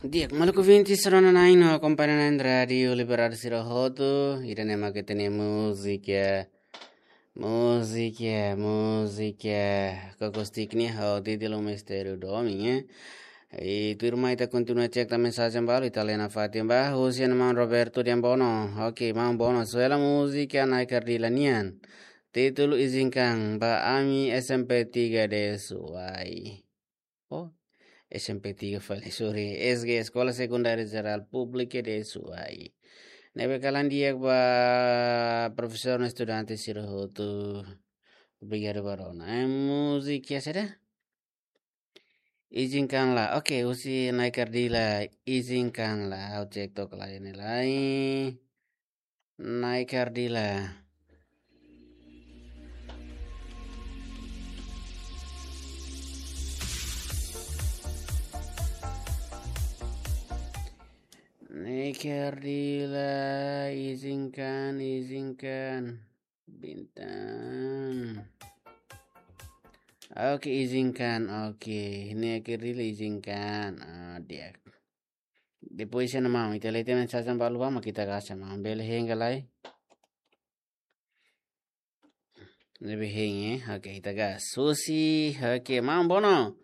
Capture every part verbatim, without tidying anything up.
Di'ak, maluk ouvinte sira-nia nain no akompaña na'in Rádiu Liberdade sira hotu, ida-ne'e mak ita-nia múzika. Múzika, múzika. Koko Stick nian ho títulu Mistériu Domin, eh. I tuirmai ita kontinua cek tan mensajen balu, ita lee nafatin ba, husi maun Roberto Diambono. Oke, maun Bono, sua hela múzika Nai Kardila nian. Títulu Izinkan ba Ami S M P tiga de Suai. Oh, S M P tiga fali, sorry. S G, Eskola Sekundária Jerál Públika de Suai. Ne'ebé kalan di'ak ba profesór no estudante sira hotu. Obrigadu ba rona. Eh, múzika saida? Izinkanlah. Oke, husi Nai Kardila, Izinkanlah. Ha'u cek took lai ne'e lai. Nai Kardila. Nai Kardila, izinkan, izinkan. Bintang. Oke, izinkan. Oke, Nai Kardila izinkan. Ah, di'ak. Depois ida-ne'e maun, ita lee tiha mensajen balu ba, mak ita gasa maun. Bele hein ka lae? Ne'ebé hein, eh? Oke, ita gas. Husi, oke, maun Bono.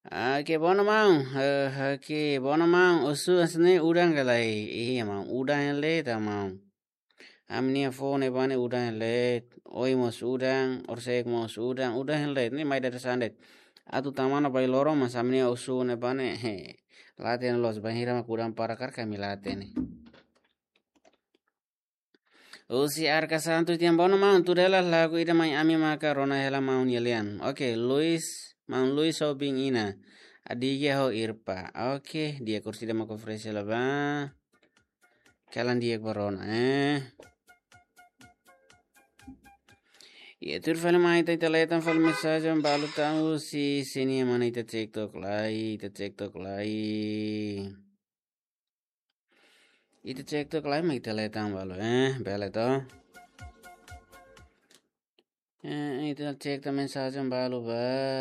Oke, Bono maun. Eh, oke, Bono maun. Husu hanesan ne'e udan ka lae? Iya maun, udan hela de'it maun. Ami-nia foun ne'ebá ne'e udan hela de'it. Oin mós udan, orsida mós udan, udan hela de'it. Ne'e mai dadeer-saan de'it. Atu tama ona ba loron, mas ami-nia husu ne'ebá ne'e, he, la hatene loos, bainhira mak udan para karik ami la hatene. Husi Arka Santos, di'ak maun Bono maun, tuir hela lagu ida mai ami maka rona hela maun nia lian. Oke, Luis, maun Luis ho biin Ina. Adigia ho Irpa. Oke, di'ak, orsida mak oferese hela ba. Kalan di'ak ba rona, eh. Iya, tuir fali mai ita, ita lee tan fali mensajen balu tan husi sini mana ita cek took lai, ita cek took lai. Ita cek took lai mak ita lee tan balu, eh, bele to. Eh, ita cek tan mensajen balu ba.